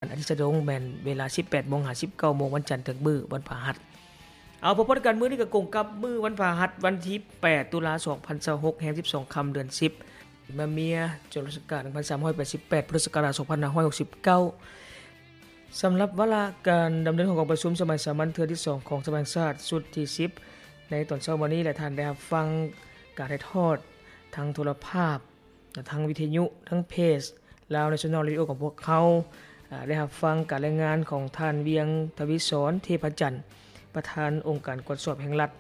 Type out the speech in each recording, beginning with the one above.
ອາທິດສະດົງ ແມ່ນເວລາ ສິບແປດໂມງ ຫາ ສິບເກົ້າໂມງ ວັນຈັນເຖິງມື້ວັນພະຫັດ. ເອົາ ພົບກັນມື້ນີ້ກໍກົງກັບມື້ວັນພະຫັດ ວັນທີ ແປດ ຕຸລາ ສອງພັນຊາວຫົກ ແຮມ ສິບສອງຄ່ຳ ເດືອນ ສິບ ມະເມຍ ຈຸລະສັກກາດ ໜຶ່ງພັນສາມຮ້ອຍແປດສິບແປດ ພຸດທະສັກກາດ ສອງພັນຫ້າຮ້ອຍຫົກສິບເກົ້າ. ສຳລັບວາລະການດຳເນີນຂອງກອງປະຊຸມສະໄໝສາມັນເທື່ອທີ ສອງ ຂອງສະພາແຫ່ງຊາດ ຊຸດທີ ສິບ ໃນຕອນເຊົ້າມື້ນີ້ ແລະ ທ່ານໄດ້ຮັບຟັງການຖ່າຍທອດທາງໂທລະພາບ, ທາງວິທະຍຸ, ທາງເພຈ Lao National Radio ຂອງພວກເຮົາ, ອາ, ໄດ້ຮັບຟັງການລາຍງານຂອງທ່ານ ວຽງ ທະວີສອນ ເທພະຈັນ, ປະທານອົງການກວດສອບແຫ່ງລັດ,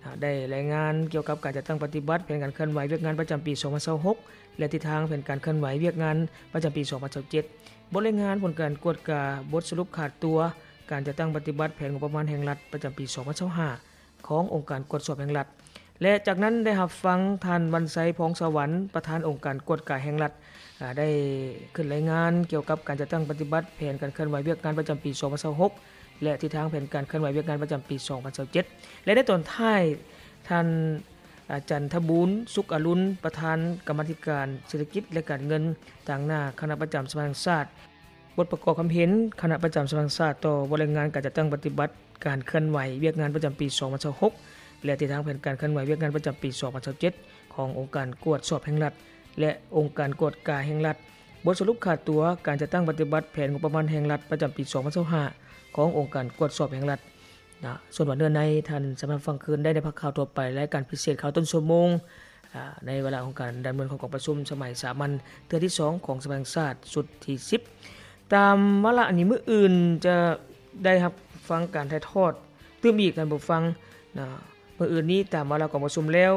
ອາ, ໄດ້ລາຍງານກ່ຽວກັບການຈັດຕັ້ງປະຕິບັດແຜນການເຄື່ອນໄຫວວຽກງານປະຈຳປີສອງພັນຊາວຫົກ ແລະ ທິດທາງແຜນການເຄື່ອນໄຫວວຽກງານປະຈຳປີສອງພັນຊາວເຈັດ, ບົດລາຍງານຜົນການກວດກາ, ບົດສະຫຼຸບຂາດຕົວ, ການຈັດຕັ້ງປະຕິບັດແຜນງົບປະມານແຫ່ງລັດປະຈຳປີສອງພັນຊາວຫ້າ ຂອງອົງການກວດສອບແຫ່ງລັດ ແລະ ຈາກນັ້ນໄດ້ຮັບຟັງທ່ານ ວັນໄຊ ພອງສະຫວັນ ປະທານອົງການກວດກາແຫ່ງລັດ ອາ ໄດ້ຂຶ້ນລາຍງານກ່ຽວກັບການຈັດຕັ້ງປະຕິບັດແຜນການເຄື່ອນໄຫວວຽກງານປະຈຳປີສອງພັນຊາວຫົກ ແລະ ທິດທາງແຜນການເຄື່ອນໄຫວວຽກງານປະຈຳປີສອງພັນຊາວເຈັດ ແລະ ໃນຕອນທ້າຍ ທ່ານ ອາ ຈັນທະບູນ ສຸກອາລຸນ ປະທານກຳມາທິການເສດຖະກິດ ແລະ ການເງິນ ຕາງໜ້າຄະນະປະຈຳສະພາແຫ່ງຊາດ ບົດປະກອບຄຳເຫັນຄະນະປະຈຳສະພາແຫ່ງຊາດຕໍ່ບົດລາຍງານການຈັດຕັ້ງປະຕິບັດການເຄື່ອນໄຫວວຽກງານປະຈຳປີສອງພັນຊາວຫົກ ແລະ ທິດທາງແຜນການເຄື່ອນໄຫວວຽກງານປະຈຳປີສອງພັນຊາວເຈັດ ຂອງອົງການກວດສອບແຫ່ງລັດ ແລະ ອົງການກວດກາແຫ່ງລັດ, ບົດສະຫຼຸບຂາດຕົວການຈັດຕັ້ງປະຕິບັດແຜນງົບປະມານແຫ່ງລັດປະຈຳປີສອງພັນຊາວຫ້າ ຂອງອົງການກວດສອບແຫ່ງລັດ. ນະ ສ່ວນວ່າເນື້ອໃນ ທ່ານສາມາດຟັງຄືນໄດ້ໃນພາກຂ່າວທົ່ວໄປ ລາຍການພິເສດຂ່າວຕົ້ນຊົ່ວໂມງ ອາ ໃນວາລະຂອງການດຳເນີນຂອງກອງປະຊຸມສະໄໝສາມັນເທື່ອທີສອງຂອງສະພາແຫ່ງຊາດຊຸດທີສິບ. ຕາມວາລະນີ້ ມື້ອື່ນຈະໄດ້ຮັບຟັງການຖ່າຍທອດຕື່ມອີກ ທ່ານຜູ້ຟັງນະ. ມື້ອື່ນນີ້ຕາມວາລະກອງປະຊຸມແລ້ວ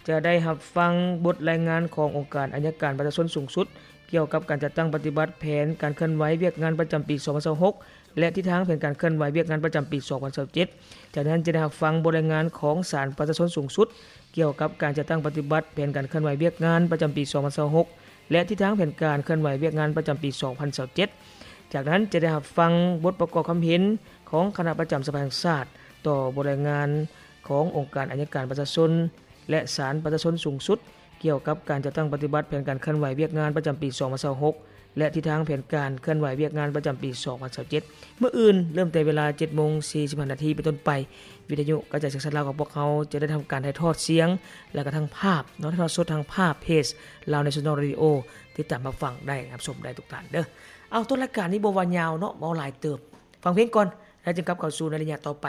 ຈະໄດ້ຮັບຟັງບົດລາຍງານຂອງອົງການໄອຍະການປະຊາຊົນສູງສຸດ ກ່ຽວກັບການຈັດຕັ້ງປະຕິບັດແຜນການເຄື່ອນໄຫວວຽກງານປະຈຳປີສອງພັນຊາວຫົກ ແລະ ທິດທາງແຜນການເຄື່ອນໄຫວວຽກງານປະຈຳປີສອງພັນຊາວເຈັດ. ຈາກນັ້ນຈະໄດ້ຮັບຟັງບົດລາຍງານຂອງສານປະຊາຊົນສູງສຸດ ກ່ຽວກັບການຈັດຕັ້ງປະຕິບັດແຜນການເຄື່ອນໄຫວວຽກງານປະຈຳປີສອງພັນຊາວຫົກ ແລະ ທິດທາງແຜນການເຄື່ອນໄຫວວຽກງານປະຈຳປີສອງພັນຊາວເຈັດ. ຈາກນັ້ນຈະໄດ້ຮັບຟັງບົດປະກອບຄຳເຫັນຂອງຄະນະປະຈຳສະພາແຫ່ງຊາດ ຕໍ່ບົດລາຍງານຂອງອົງການໄອຍະການປະຊາຊົນ ແລະ ສານປະຊາຊົນສູງສຸດ ກ່ຽວກັບການຈັດຕັ້ງປະຕິບັດແຜນການເຄື່ອນໄຫວວຽກງານປະຈຳປີສອງພັນຊາວຫົກ ແລະ ທິດທາງແຜນການເຄື່ອນໄຫວວຽກງານປະຈຳປີສອງພັນຊາວເຈັດ. ມື້ອື່ນເລີ່ມແຕ່ເວລາ ເຈັດໂມງສີ່ສິບຫ້ານາທີເປັນຕົ້ນໄປ, ວິທະຍຸກະຈາຍສຽງສານລາວຂອງພວກເຮົາຈະໄດ້ທຳການຖ່າຍທອດສຽງ ແລະ ກະທັງພາບເນາະ, ຖ່າຍທອດສົດທາງພາບເພຈ Lao National Radio ຕິດຕາມຮັບຟັງໄດ້, ຮັບຊົມໄດ້ທຸກທ່ານເດີ. ເອົາ, ຕົ້ນລາຍການນີ້ບໍ່ວ່າຍາວເນາະ, ເວົ້າຫຼາຍເຕີບ. ຟັງເພງກ່ອນ ແລ້ວຈຶ່ງກັບເຂົ້າສູ່ໃນໄລຍະຕໍ່ໄປ.